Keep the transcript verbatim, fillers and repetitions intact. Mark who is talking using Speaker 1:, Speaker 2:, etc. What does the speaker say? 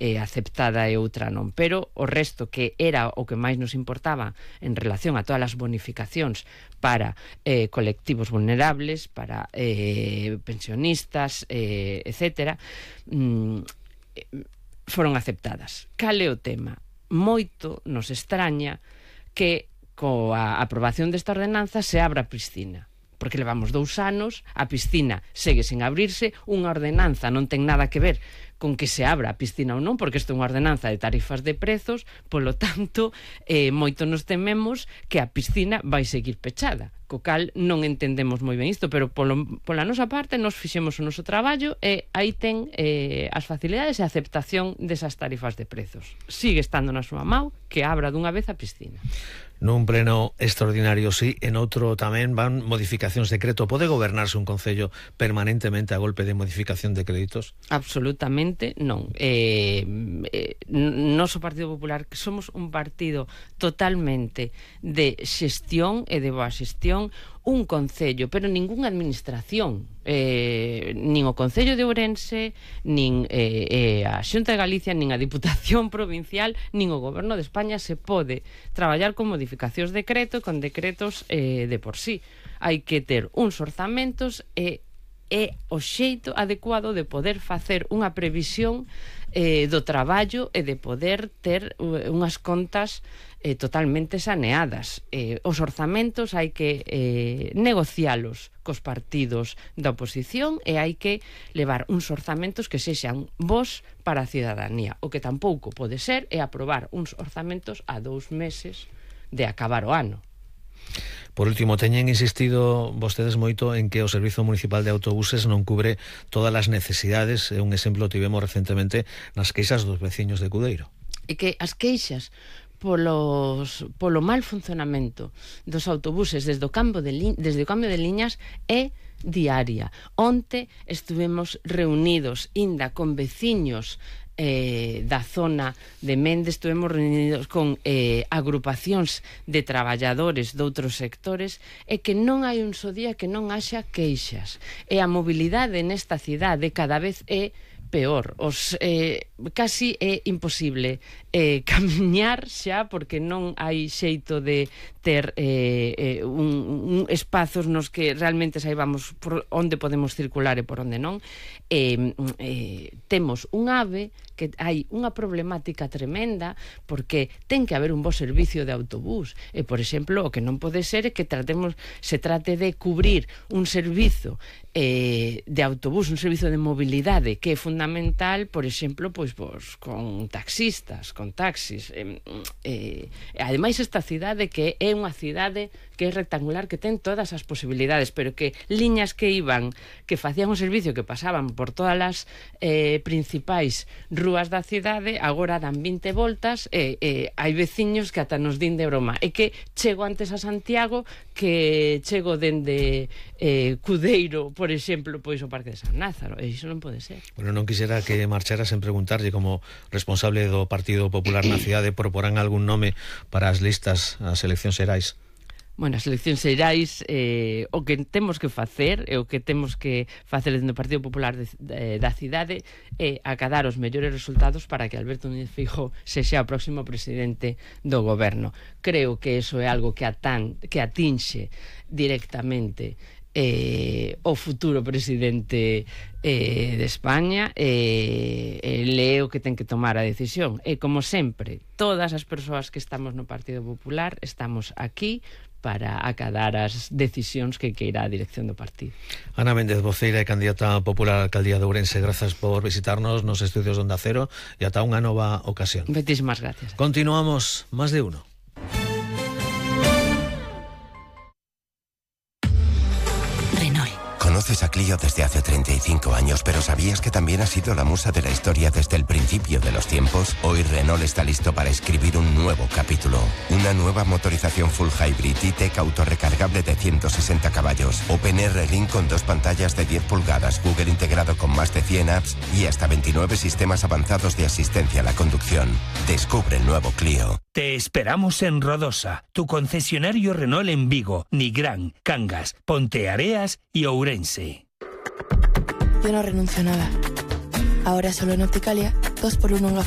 Speaker 1: eh, aceptada e outra non, pero o resto que era o que máis nos importaba en relación a todas as bonificacións para eh, colectivos vulnerables, para eh, pensionistas, eh, etcétera, mm, foron aceptadas. Cal é o tema? Moito nos extraña que coa aprobación desta ordenanza se abra a piscina, porque levamos dous anos, a piscina segue sen abrirse, unha ordenanza non ten nada que ver con que se abra a piscina ou non, porque isto é unha ordenanza de tarifas de prezos, polo tanto, eh, moito nos tememos que a piscina vai seguir pechada, co cal non entendemos moi ben isto, pero polo, pola nosa parte nos fixemos o noso traballo e aí ten eh, as facilidades e a aceptación desas tarifas de prezos. Sigue estando na súa mão que abra dunha vez a piscina.
Speaker 2: Nun pleno extraordinario, sí, en outro tamén van modificacións de decreto. Pode gobernarse un concello permanentemente a golpe de modificación de créditos?
Speaker 1: Absolutamente non. Eh, eh, noso Partido Popular, que somos un partido totalmente de xestión e de boa xestión, un concello, pero ningunha administración, eh, nin o Concello de Ourense, nin eh, eh, a Xunta de Galicia, nin a Diputación Provincial, nin o Goberno de España se pode traballar con modificacións de decreto, con decretos eh, de por sí. Hai que ter uns orzamentos e é o xeito adecuado de poder facer unha previsión eh, do traballo e de poder ter unhas contas eh, totalmente saneadas. Eh, os orzamentos hai que eh, negocialos cos partidos da oposición e hai que levar uns orzamentos que sexan bons para a cidadanía. O que tampouco pode ser é aprobar uns orzamentos a dous meses de acabar o ano.
Speaker 2: Por último, teñen insistido vostedes moito en que o Servizo Municipal de Autobuses non cubre todas as necesidades. Un exemplo tivemos recentemente nas queixas dos veciños de Cudeiro.
Speaker 1: E que as queixas polos, polo mal funcionamento dos autobuses desde o cambio de, li, desde o cambio de liñas é diaria. Onte estuvemos reunidos inda con veciños Eh, da zona de Mende, estuvemos reunidos con eh, agrupacións de traballadores de outros sectores e que non hai un só día que non haxa queixas. E a mobilidade nesta cidade cada vez é peor, os eh, casi é imposible eh, camiñar xa porque non hai xeito de ter eh, eh, un, un espazos nos que realmente saibamos por onde podemos circular e por onde non. Eh, eh, temos un AVE que hai unha problemática tremenda porque ten que haber un bo servicio de autobús e, por exemplo, o que non pode ser é que tratemos, se trate de cubrir un servizo eh, de autobús, un servizo de mobilidade que é fundamental, por exemplo, pois, pois con taxistas, con taxis. Eh, eh, ademais, esta cidade que é unha cidade que é rectangular, que ten todas as posibilidades, pero que liñas que iban, que facían un servicio que pasaban por todas as eh, principais rúas da cidade, agora dan vinte voltas e eh, hai veciños que ata nos din de broma. É que chego antes a Santiago que chego dende eh, Cudeiro, por exemplo, pois o Parque de San Lázaro, e iso non pode ser.
Speaker 2: Bueno, non quixera que marchara sen preguntarlle, como responsable do Partido Popular na cidade, proporán algún nome para as listas ás eleccións xerais?
Speaker 1: Bueno, as eleccións xerais, eh, o que temos que facer e o que temos que facer dentro do Partido Popular de, de, da cidade é acadar os mellores resultados para que Alberto Núñez Feijóo sexa o próximo presidente do goberno. Creo que eso é algo que, atan, que atinxe directamente eh, o futuro presidente eh, de España e eh, leo que ten que tomar a decisión. E como sempre, todas as persoas que estamos no Partido Popular estamos aquí para acadar as decisións que queira a dirección do partido.
Speaker 2: Ana Méndez, voceira e candidata popular á alcaldía de Ourense, grazas por visitarnos nos estudios de Onda Cero e ata unha nova ocasión.
Speaker 1: Moitísimas gracias.
Speaker 2: Continuamos, Más de Uno.
Speaker 3: Conoces a Clio desde hace treinta y cinco años, pero ¿sabías que también ha sido la musa de la historia desde el principio de los tiempos? Hoy Renault está listo para escribir un nuevo capítulo. Una nueva motorización full hybrid E-Tech autorrecargable de ciento sesenta caballos. OpenR Link con dos pantallas de diez pulgadas, Google integrado con más de cien apps y hasta veintinueve sistemas avanzados de asistencia a la conducción. Descubre el nuevo Clio.
Speaker 4: Te esperamos en Rodosa, tu concesionario Renault en Vigo, Nigrán, Cangas, Ponteareas y Ourense.
Speaker 5: Yo no renuncio a nada. Ahora solo en Opticalia, dos por uno en gafas